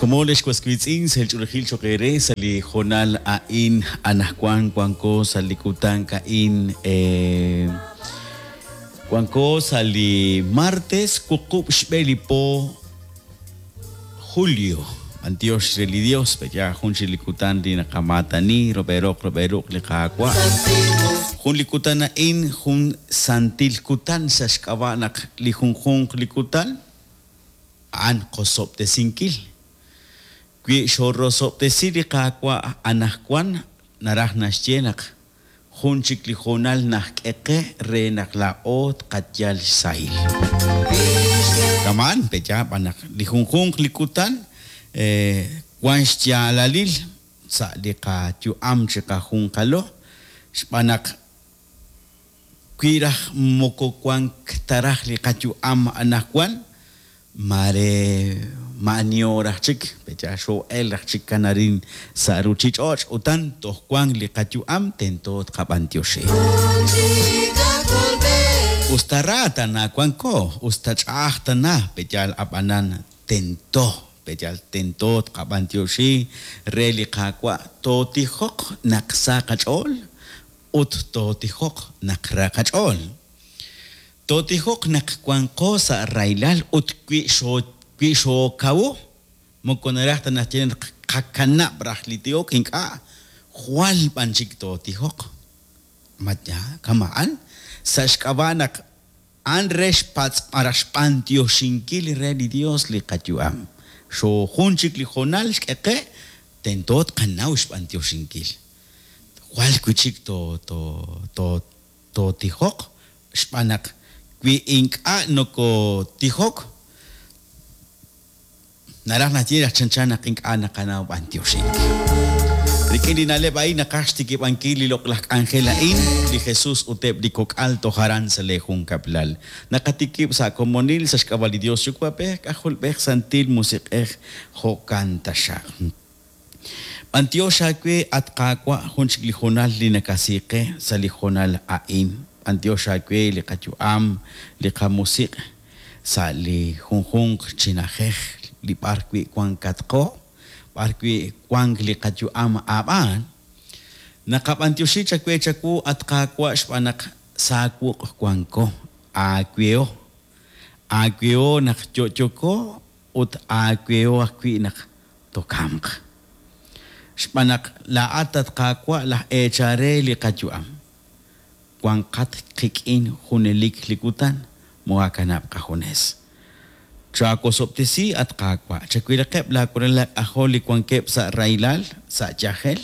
komon, ex was wiitz'in, sahil ch'oolejil cho'q eere sa' li hoonal a'in. Anaqwan wanko sa' li kutan a'in, wanko sa' li martes wuqub' xb'e li po julio. B'antiox re li Dios, pe'yaal jun chik li kutan li naqamaatani rub'el roq rub'el ruq' li Qaawa'. Jun li kutan a'in jun santil kutan sa' xk'ab'a' naq li junjunq li kutan a'an qosob'tesinkil. Wi xoorosob'tesi li Qaawa' anaqwan, naraj naxye naq jun chik li hoonal najk'e qe re naq laa'o tqayal xsahil. Kama'an, pe'yaal b'an naq li junjunq li kutan wan xyaalalil sa' li qayu'am chiqajunqalo, xb'aan naq Wi raj moko wank ta raj li qayu'am anaqwan, maare maa'aniho raj chik, pe'yaal xoo'elk raj chik kan arin sa' ruuchich'och' utan toj wank li qayu'am tento tqab'anyoxi. Us ta ra tana wanko, us ta ch'a'aj tana, pe'yaal ab'anan tento, pe'yaal tento tqab'anyoxi re li Qaawa' tootijoq naq sa qach'ool Ut tootijoq naq ra qach'ool. Tootijoq naq wanqo sa' rahilal ut wi wi xookawu, moko naraj ta naxye naq tqakanab' raj li tihok, ink'a', jwal b'an chik tootijoq. Ma yaal kama'an? Sa' xk'ab'a' naq A'an re xpatz' malaj xb'antioxinkil re li Dios li qayu'am. Xoojun chik li hoonal xk'e qe, tento tqanaw xb'antioxinkil. Jwal wi' chik to, to, to, tootijoq, xb'aan naq wi ink'a' nokotijok, Naraj naxye naq chanchan naq ink'a' naqanaw b'antioxink. Rik'in li na'leb' a'in naqaj xtikib'ankil li loq'laj k'anjel a'in, li Jesus ut eb' li kok'al toj aran sa' lee junkab'lal. Naqatikib' sa' komonil sa' xk'ab'a' li Dios Yuwa'b'ej, K'ajolb'ej, Santil Musiq'ej, jo'kan taxaq. B'antiox aawe, at Qaawa', jun chik li hoonal li nakasi qe sa' li hoonal a'in. B'antiox aawe li qayu'am, li qamusiq' sa' li junjunq chi na'ajej li b'ar wi' wankatqo, b'ar wi' wank li qayu'am aab'aan. Naqab'antioxi chawe chawu, at Qaawa', xb'aan naq sa wuq' wanko, aaweho. Aaweho naq yo'yoko ut aaweho ajwi' naq tokamq. Xb'aan naq laa'at, at Qaawa', laj eechal re li qayu'am. Wanqat qik'in junelik li kutan, moohaakanab' qajunes. Chaawosob'tesi, at Qaawa', chawilaqeb' laawalal aak'ajol li wankeb' sa' rahilal, sa' yajel,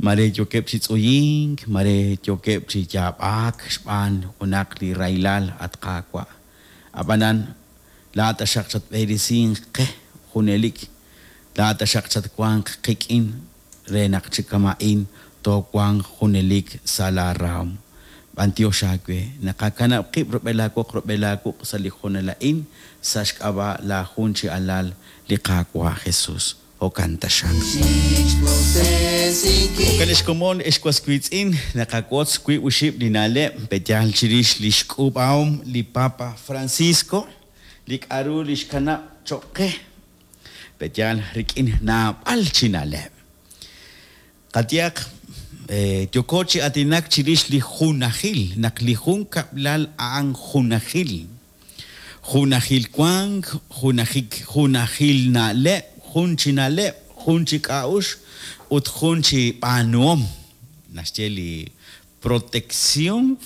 mare yookeb' chi tz'uyink, mare yookeb' chi yaab'ak xb'aan junaq li rahilal, at Qaawa'. Ab'anan, Laa'at taxaq chatb'eresinq qe junelik, laa'at taxaq chatwanq qik'in re naq chi kama'in toowanq junelik sa' laa rahom. B'antiox aawe, naqakanab' qib' rub'el laa woq rub'el laa wuq' sa' li hoonal a'in sa' xk'ab'a' laa jun chi Alal, li Qaawa' Jesus. Jo'kan taxaq. Jo'kan ex komon, ex was wiitz'in, naqawotz wiib' oxib' li na'leb' pe'yaal chirix lix k'uub'ahom li Papa Francisco, li k'a'ru li xkanab' choq' qe, pe'yaal rik'in naab'al chi na'leb'. Qayehaq, yooko chi aatinak chirix li junajil, naq li junkab'lal a'an junajil. Junajil wank, junajik, junajil na'leb', jun chi na'leb', jun chi k'a'uxl ut jun chi b'aanuhom, naxye li Protección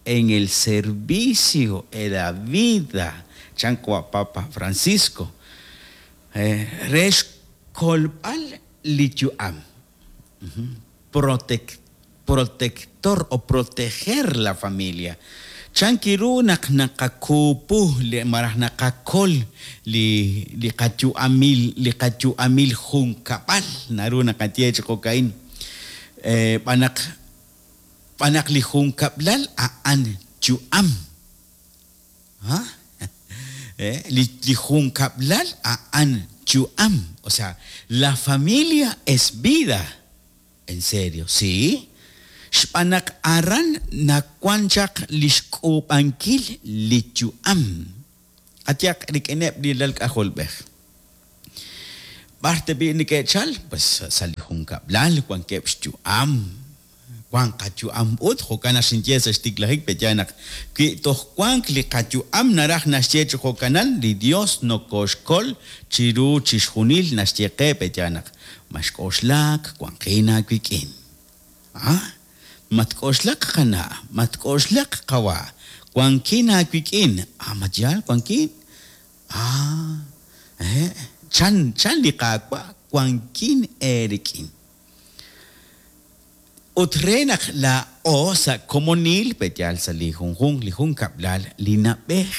en el servicio e la vida, chan qawa' Papa Francisco, re xkolb'al li yu'am. Protector o proteger la familia. Chan ru naq naqakuupu li malaj naqakol li li qayu'amil li qayu'amil junkab'al naru naqaye chi jo'ka'in xb'aan naq xb'aan naq li junkab'lal a'an yu'am. Li li junkab'lal a'an yu'am, o sea, la familia es vida. En serio, si? Xb'aan naq aran nawan chaq li xk'uub'ankil li yu'am. Qayehaq rik'ineb' li lal k'ajolb'ej. B'ar tab'i' neke'chal? Pues sa' li junkab'lal wankeb' xyu'am. Wank qayu'am ut, jo'kan naq xinye sa' xtiklajik pe'yaal naq wi toj wank li qayu'am naraj naxye chi jo'kanan, li Dios nokoxkol chiru chixjunil naxye qe pe'yaal naq maxk'oxlak, wanqin aawik'in. Ah, matk'oxlak qana', matk'oxlak qawa', wankin aawik'in. Ah, ma yaal wankin? Ah, eh, chan, chan li Qaawa', wankin eerik'in. Ut re naq laa'o sa' komonil, pe'yaal sa' li junjunq li junkab'lal, li na'b'ej,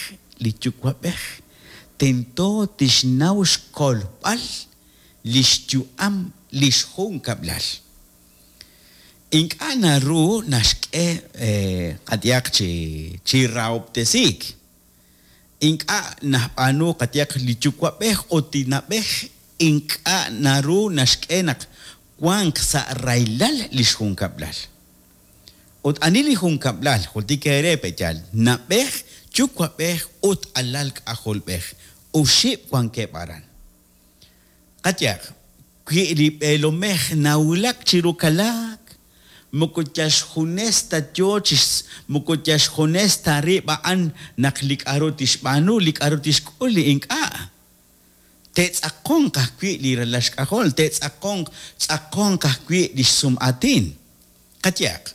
li yuwa'b'ej, tento tixnaw xkolb'al li xyu'am li xjunkab'lal. Ink'a' naru naxk'e qayehaq chi rahob'tesiik. Ink'a' nab'aanu qayehaq li yuwa'b'ej ut li na'b'ej ink'a' naru naxk'e naq wanq sa' rahilal li xjunkab'lal. Ut ani li junkab'lal? Jultik eere pe'yaal, na'b'ej, yuwa'b'ej ut alal k'ajolb'ej. Oxib' wankeb' aran. Qayehaq, wi li b'eelomej nawulak chiru kalaak, moko yal xjunes ta yoo chi moko yal xjunes ta rib' a'an naq li k'a'ru tixb'aanu, li k'a'ru tixk'ul, li ink'a'. Te'tz'aqonq ajwi' li ralal xk'ajol, te'tz'aqonq tz'aqonq ajwi' lix sum aatin. Qayehaq,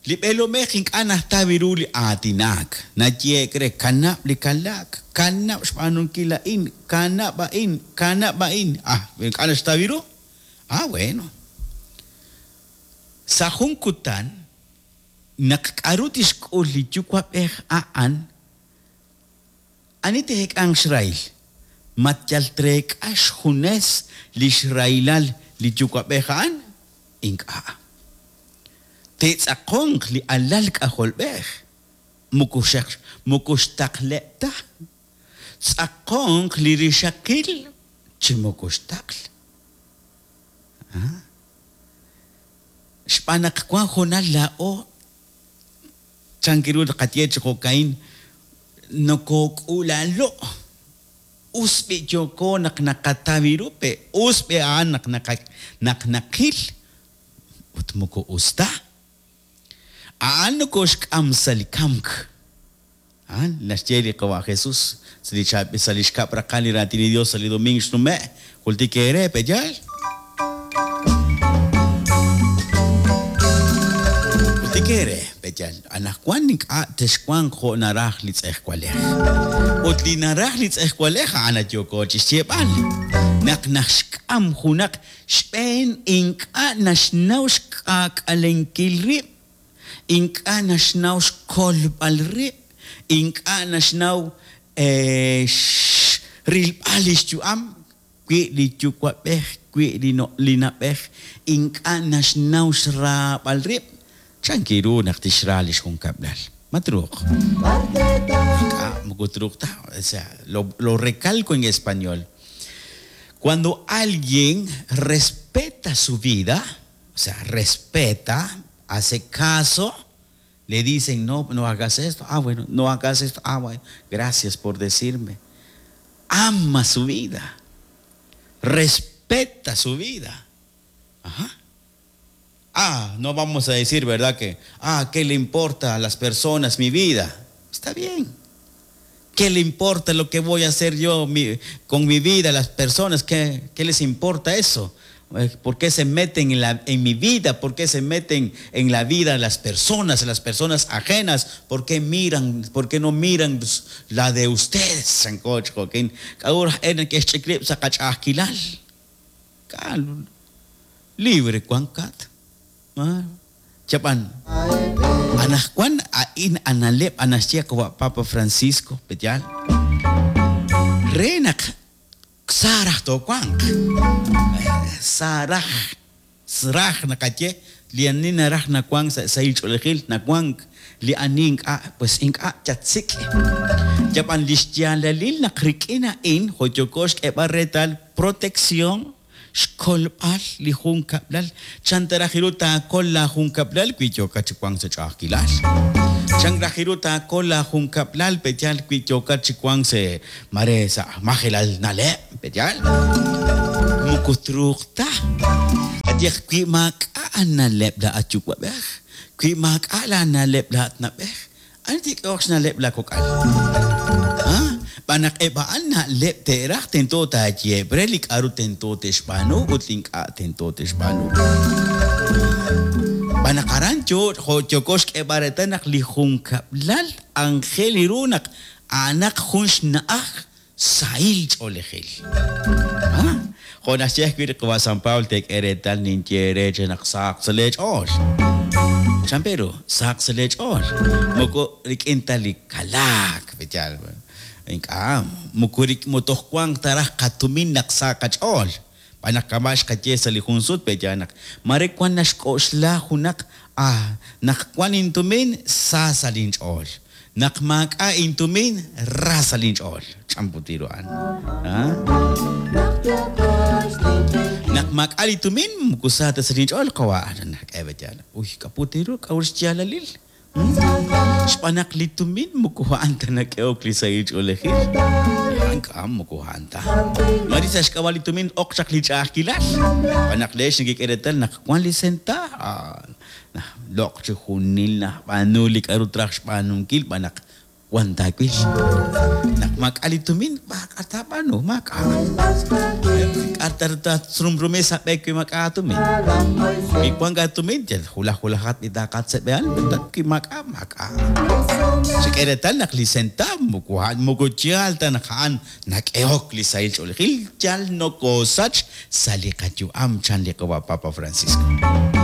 li b'eelomej ink'a' najtaw ru li aatinaak, nayehe'k re, kanab' li kalaak, kanab' xb'aanunkil a'in, kanab' a'in, kanab' a'in. Ah, ink'a' naxtaw ru? Ah, bueno. Sa' jun kutan, naq k'a'ru tixk'ul li yuwa'b'ej a'an, Ani te'eek'anq xrahil? Ma yal treek'a xjunes li xrahilal li yuwa'b'ej a'an? Ink'a'. Te'tz'aqonq li alal k'ajolb'ej, moko xaq moko xtaqleb' ta. Tz'aqonq li rixaqil chi moko xtaql. Xb'aan naq wank hoonal laa'o Chan ru tqaye chi jo'ka'in, Nokook'uula'lo'. Us b'i' yooko naq naqataw ru pe', us b'i' a'an naq naq naqil ut moko us ta. A'an nokooxk'am sa' li kamk. A'an naxye li Qawa' Jesus sa' li chaab'il sa' li xkab' raqal li Raatin li Dios sa' li domingo xnume'. Jultik eere, pe'yaal? Jultik eere, pe'yaal? Anaqwan ink'a' texwanq jo' naraj li tz'ejwalej. Ut li naraj li tz'ejwalej a'an yooko chixyeeb'al. Naq naxk'am junaq xb'een ink'a' naxnaw xk'aak'alenkil rib'. Ink'a' naxnaw xkolb'al rib', ink'a' naxnaw rilb'al li xyu'am, wi li yuwa'b'ej, wi li na'b'ej ink'a' naxnaw xraab'al rib', chan ru naq tixra li xjunkab'lal? Ma truuq? Ink'a', moko truuq ta. O sea, lo, lo recalco en español. Cuando alguien respeta su vida, o sea, respeta, hace caso, le dicen, no, no hagas esto, ah, bueno, no hagas esto, ah, bueno, gracias por decirme. Ama su vida, respeta su vida. Ajá. Ah, no vamos a decir, ¿verdad? Que, ah, ¿qué le importa a las personas mi vida? Está bien. ¿Qué le importa lo que voy a hacer yo con mi vida a las personas? ¿Qué, qué les importa eso? ¿Por qué se meten en, la, en mi vida? ¿Por qué se meten en la vida de las personas, las personas ajenas? ¿Por qué miran, por qué no miran la de ustedes? Libre wankat. Chab'an. Anaqwan a'in analeb' anaxye qawa' Papa Francisco, pe'yaal? Re naq sa raj toowanq. Sa raj, raj naqaye, li ani naraj nawank sa' sahil ch'oolejil nawank, li ani ink'a', pues ink'a' chatsik'. Yab'an li xyaalalil naq rik'in a'in jo' yooko xk'eeb'al reetal protección xkolb'al li junkab'lal. Chan ta raj ru taakol laajunkab'lal wi yookat chi wank sa' ch'a'ajkilal? Chan raj ru taakol laajunkab'lal pe'yaal wi yookat chi wank sa' mare sa' majelal na'leb' pe'yaal? Moko truuq ta. Qayehaq wi maak'a' aana'leb' laa'at yuwa'b'ej, wi maak'a' laana'leb' laa'at na'b'ej, ani te'k'ehoq xna'leb' laakok'al? Ha? Xb'aan naq eb' a'an na'leb' te'raj tento taayeheb' re li k'a'ru tento te'xb'aanu ut li ink'a' tento te'xb'aanu. Xb'aan naq aran yo jo' yooko xk'eeb'al reetal naq li junkab'lal anjel ru naq a'anaq jun xna'aj sahil ch'oolejil. Ha? Jo' naxye ajwi' li qawa' San Pablo teek'e reetal ninye eere che naq sahaq sa' lee ch'ool. Chan pe ru, sahaq sa' lee ch'ool. Moko rik'in ta li kalaak, pe'yaal? Ink'a', moko toj wanq ta raj qatumin naq sa qach'ool. Xb'aan naq kama' xqaye sa' li jun sut, pe'yaal naq mare wan naxk'oxla junaq, ah, naq wan intumin, sa sa' linch'ool. Naq maak'a' intumin, ra sa' linch'ool. Ch'amputi ru a'an. Naq maak'a' li tumin, moko sa ta sa' linch'ool, qawa' nak'e pe'yaal. Uy, k'aputi ru, k'a'ru xyaalalil? Xb'aan naq li tumin moko a'an ta nak'ehok li sahil ch'oolejil. Ink'a' moko a'an ta. Mare sa' xk'ab'a' li tumin ok chaq li ch'a'ajkilal. Xb'aan naq leex nekek'e reetal naq wan li senta, loq' chi junil najb'aanu li k'a'ru traj xb'aanunkil xb'aan naq wan taawil. Naq maak'a' li tumin, maak'a' taab'aanu, maak'a'. K'a' ta tatsrumrumi sa' b'e wi maak'a' aatumin. Wi wank aatumin, yal hulaj hulajat li taaqatzeb'ehal, wi maak'a', maak'a'. Chek'e reetal naq li sentaab moko a'an moko yaal ta naq a'an nak'ehok li sahil ch'oolejil, yal nokoosach sa' li qayu'am, chan li qawa' Papa Francisco.